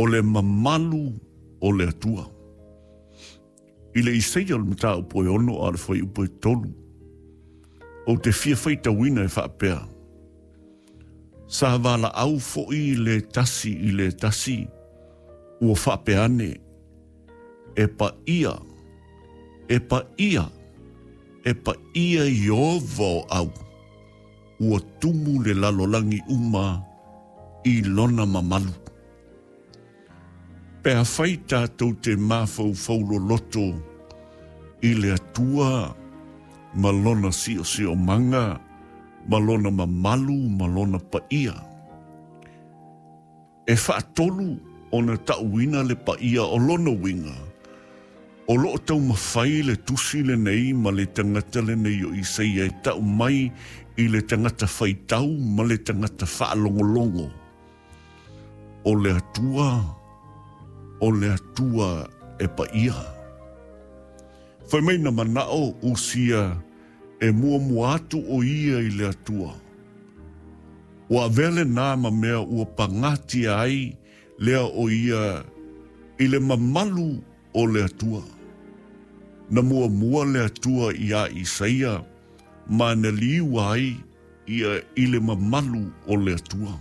O le mamalu o le Atua. I le Isaia o le mataupu e 6 a o le fuaiupu e 3, ou te fia faitauina e faapea, Sa valaau foi le tasi i le tasi, ua faapea ane, E paia, e paia, e paia Ieova o au, ua tumu le lalolagi uma i lona mamalu. Pe afai tatou te mafaufau loloto i le Atua ma Lona siosiomaga ma Lona mamalu ma Lona paia, e faatolu ona ta'uina le paia o lona uiga, o lo'o taumafai le tusi lenei ma le tagata lenei o Isaia e ta'u mai i le tagata faitau ma le tagata faalogologo. O le Atua, o le Atua e paia. Fai mai na mana'o Usia e muamua atu o ia i le Atua. Ua avea lenā ma mea ua pagatia ai lea o ia i le mamalu o le Atua. Na muamua le Atua iā Isaia ma na liua ai ia i le mamalu o le Atua.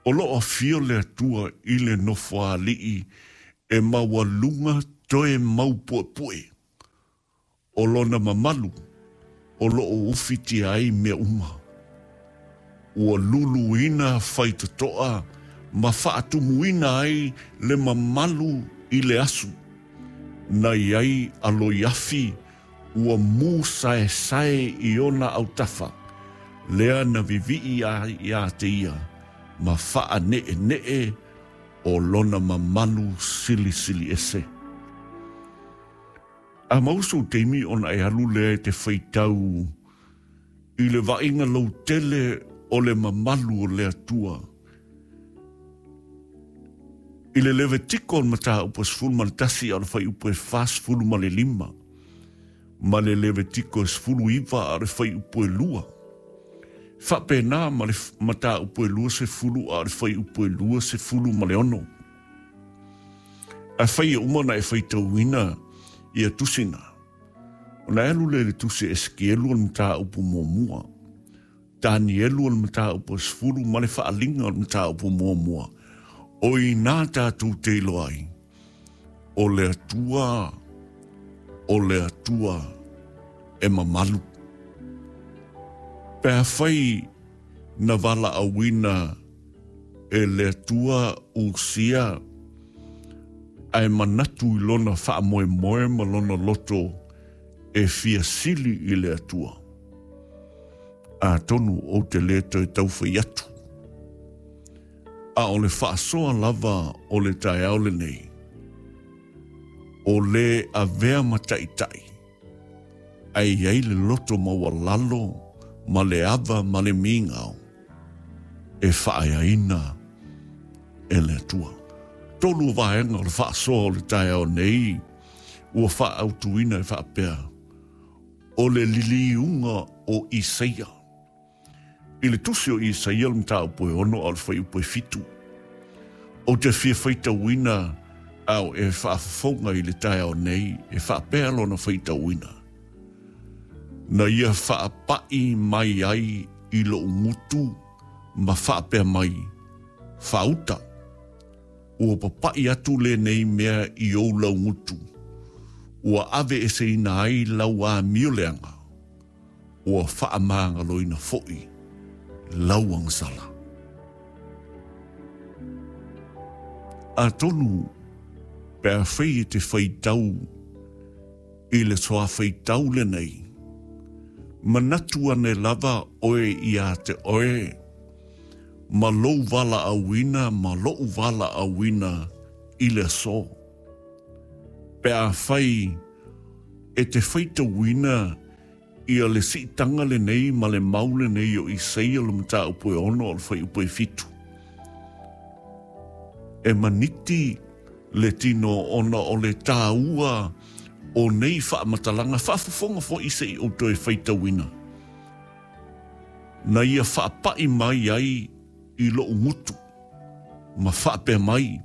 O lo o afio le Atua i le nofoaali'i e maualuga toe maupuepue o lona mamalu o lo o ufitia ai mea uma. Ua luluina faitotoa ma faatumuina ai le mamalu i le asu na i ai a loiafi ua mūsaesae i ona autafa, lea na vivii ai iā te ia ma faaneʻeneʻe o lona mamalu silisili ese. A maua sou taimi ona e alu lea e te faitau i le vaaiga lautele o le mamalu o le Atua. I le Levitiko o le mataupu e 11 a o le fuaiupu e 45, ma le Levitiko e 19 a o le fuaiupu e 2. Faapena ma le mataupu e 20 a o le fuaiupu e 26. Afai e uma ona e faitauina ia tusi na, ona e alu lea i le tusi a Esekielu o le mataupu muamua, Tanielu o le mataupu e 10 ma le Faaaliga o le mataupu muamua, o i inā tatou te iloa ai, o le Atua, o le Atua e mamalu. Pe afai na valaauina e le Atua Usia ae manatu i lona faamoemoe ma lona loto e fia sili i le Atua. Atonu ou te lē toe taufai atu. A o le faasoa lava o le taeao lenei, o lē avea ma taitai, ae i ai le loto maualalo ma le ava ma le migao e faaeaina e le Atua. Tolu vaega o le faasoa o le taeao nei ua faaautuina e faapea, o le liliuga o Isaia. I le tusi o Isaia le mataupu e 6 a o le fuaiupu e 7, ou te fia faitauina ao e faafofoga i le taeao nei e faapea lona faitauina, Na ia faapaʻi mai ai i loʻu gutu ma faapea mai, Faauta, ua papaʻi atu lenei mea i ou laugutu, ua aveeseina ai lau amio leaga, ua faamagaloina foi lau agasala. Atonu pe afai e te faitau i le soafaitau lenei, manatu ane lava oe iā te oe, ma lou valaauina ma loʻu valaauina i le aso. Pe afai e te faitauina ia le siitaga lenei ma le mau lenei o Isaia le mataupu e 6 o le fuaiupu e 7, e maniti le tino ona o le tāua o nei faamatalaga, faafofoga foi se i ou toe faitauina, na ia faapaʻi mai ai i loʻu gutu ma faapea mai.